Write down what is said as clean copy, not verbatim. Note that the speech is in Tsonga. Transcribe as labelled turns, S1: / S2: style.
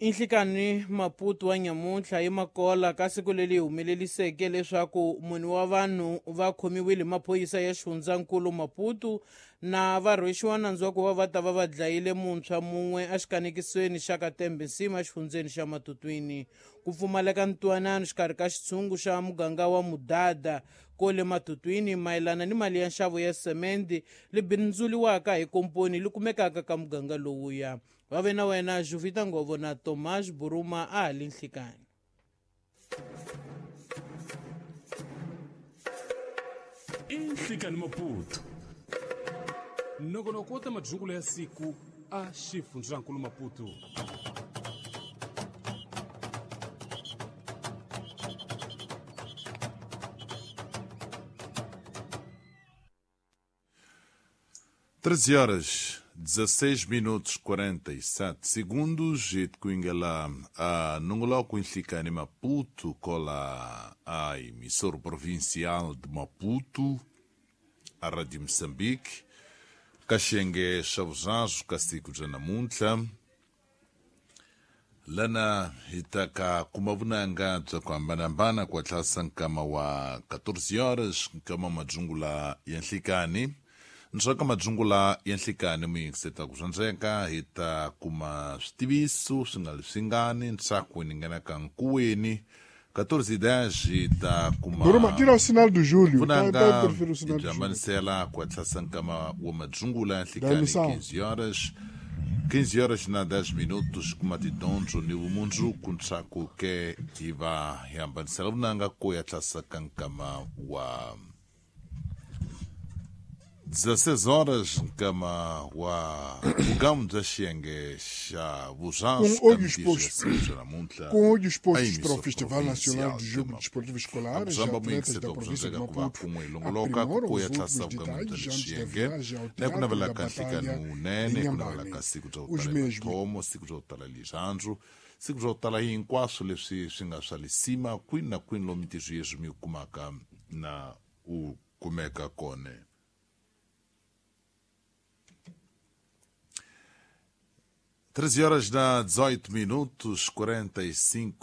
S1: I nhlikani Maputo wa nyamuntlha hi Makola ka siku leri humeleliseke leswaku mune wa vanhu va khomiwile hi maphorisa ya xifundzankulu Maputo na va rhwexiwa nandzu wa ku va va ta va va dlayile muntshwa mun'we exikanekisweni xa ka Tembe Nsima exifundzeni xa Matutwini. Ku pfumaleka ntwanano xikarhi ka xitshungu xa muganga wa Mudada kole Matutwini mayelana ni mali ya nxavo ya semende li bindzuriwaka hi komponi li kumekaka ka muganga lowuya. Va ve na wena Juvita Ngovo na Tomas Buruma a ha li nhlikani.
S2: I nhlikani Maputo. Nongonoko wo ta madyungulo ya siku a xifundzankulu Maputo.
S3: 13 horas 16 minutos 47 segundos e tikuingela a nongoloko nhlikani Maputo kola a emissora provincial de Maputo a Rádio Moçambique kaxenge xa vuzazo ka siku bya namuntlha lana hi ta ka kuma vunanga bya ku hambanahambana ku hatlasa nkama wa 14 horas nkama madzungula ya nhlikani ndzhaku madzungula ya nhlikani muyingiseta ku swandzeka hi ta kuma switiviso swi nga ri swingani ntshaku ni nghenaka nkuweni 14:10 hi ta kuma
S4: Buruma, tira o sinal do Júlio. Tá,
S3: vunanga
S4: tá a interferir o
S3: hi
S4: sinal
S3: byi
S4: do Júlio.
S3: hambanisela ku hatlasa nkama wa madzungula ya
S4: Da
S3: nhlikani
S4: emissão.
S3: 15 horas 15 horas na 10 minutos kuma tidyondzo ni vumundzuku ntshaku ke hi va hi hambanisela vunanga ku ya tlasa ka nkama wa 16 horas nkama wa vugamu bya xiyenge xa vuzansu
S4: Com
S3: ka
S4: olhos
S3: mintirho ya
S4: postos.
S3: siku bya namuntlha
S4: Com olhos
S3: a
S4: postos para o
S3: emissora
S4: Festival Nacional
S3: provincial
S4: de
S3: de
S4: Jogo
S3: Maputo.
S4: Desportivo Escolar, os
S3: Akuzamba
S4: atletas da
S3: muyingiseta
S4: província de
S3: ku va
S4: Maputo
S3: kun'we hi longoloka ku
S4: aprimoram
S3: ku ya
S4: os
S3: tlasa
S4: últimos
S3: vugamu bya
S4: detalhes antes da
S3: xiyenge
S4: viagem ao
S3: na ku
S4: Teatro
S3: navela
S4: da
S3: ka
S4: Batalha
S3: nhlikani
S4: em
S3: wunene ku navela
S4: Inhambane.
S3: ka siku bya ku
S4: Os
S3: tala
S4: mesmos
S3: mathomo siku bya ku tala lirhandzu siku bya ku tala hinkwaswo leswi swi nga swa lisima kwini na kwini lomu mintirho yeswi mi yi kumaka na u kumeka kona. 13 horas na 18 minutos 45